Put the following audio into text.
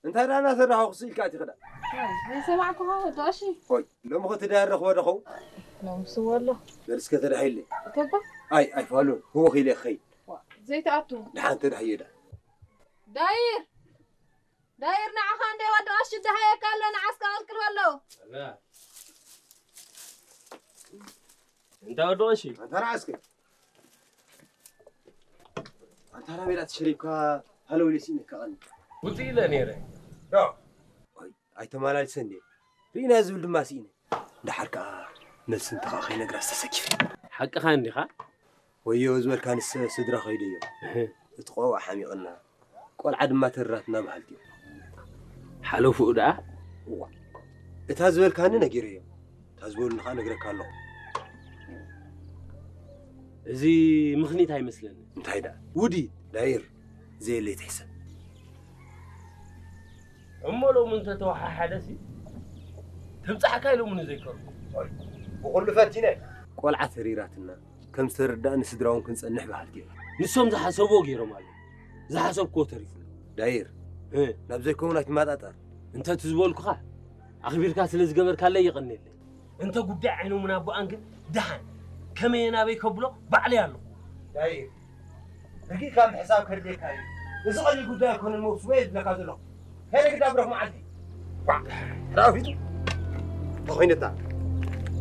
እንታይ ደኣ እናሰራሕኹ ስኢልካ ኣቲኺ ደኣ? ዘይሰማዕኩኻ ወዲ ቀሺ። ኦይ፣ ሎሚ ኸ ትዳር ረኽቦ ዶ ኸውን? ሎምስ ወሎ። በል እስከ ተዳሂለይ። እከባ? ኣይ፣ ኣይፋሉን። ህወኽ ኢለ ይኸይድ። ዋ፣ ዘይትኣቱ። ደሓን ተዳህዮ ደኣ። ዳይር! ዳይር፣ ንዓኻ እንደ ወዲ ቀሺ ደሃየካ ኣሎ፣ ንዓስካ ቀልቅል በሎ። እንዳ ወዲ ቀሺ። ኣንታ ንዓስከ። ኣንታ ናበይ ደኣ ተሸሪብካ ሃለው ኢለ ስኢነካ ቀኒ። ውፅእ ኢለ ነይረ። ዶ? ኦይ፣ ኣይተመላልሰን ድየ? ርኢና ዝብል ድማ ስኢነ። ደሓር ከኣ መልሲ እንተ ኸዓ ከይነግራ ዝተሰኪፈ። ሓቅኻ እንዲኻ? ወዮ ዝበልካ ንስ ስድራ ከይደዮ። እህ። እቲ ቆልዓ ሓሚቕና፣ ቆልዓ ድማ ተሪራትና በሃልቲ እዮም። ሓለፉኡ ደኣ? እዋ። እታ ዝበልካኒ ነጊረዮ። እታ ዝበሉኒ ኸዓ ነግረካ ኣለኹ። እዚ ምኽኒት ኣይመስለኒ። እንታይ ደኣ? ውዲ። ዳይር፣ ዘየለይ ትሕሰብ። እሞ ሎሚ እንተተወሓሓደሲ፣ ትብጻሕካ ኢሎምኒ ዘይከርኩ። ብኹሉ ፈቲነ። ቆልዓ ተሪራትና፣ ከም ዝተረዳእኒ ስድራ እውን ክንጸንሕ በሃልቲ እዮም። ንሶም ዝሓሰብዎ ገይሮም ኣለዉ። ዝሓሰብክዎ ተሪፉ ኣሎ። ዳይር፣ እ። ናብ ዘይከውን ኣይትመጣጠር። እንተ እቲ ዝበልኩኻ ኣኽቢርካ ስለ ዝገበርካለይ የቐንየለይ። እንተ ጉዳይ ዓይኖምን ኣቦኣን ግን ደሓን ከመይ ናበይ ከብሎ ባዕለይ ኣለኹ። ዳይር፣ ርጊእካ ምሕሳብ ከድልየካ እዩ። እዚ ቀሊል ጉዳይ ኣይኮነን፣ መውስቦ እየ ዝብለካ ዘለኹ። ከይደ ግዳ ብረኽ መዓልቲ። ዋ፣ ዳዊት፣ ተኾይነታ።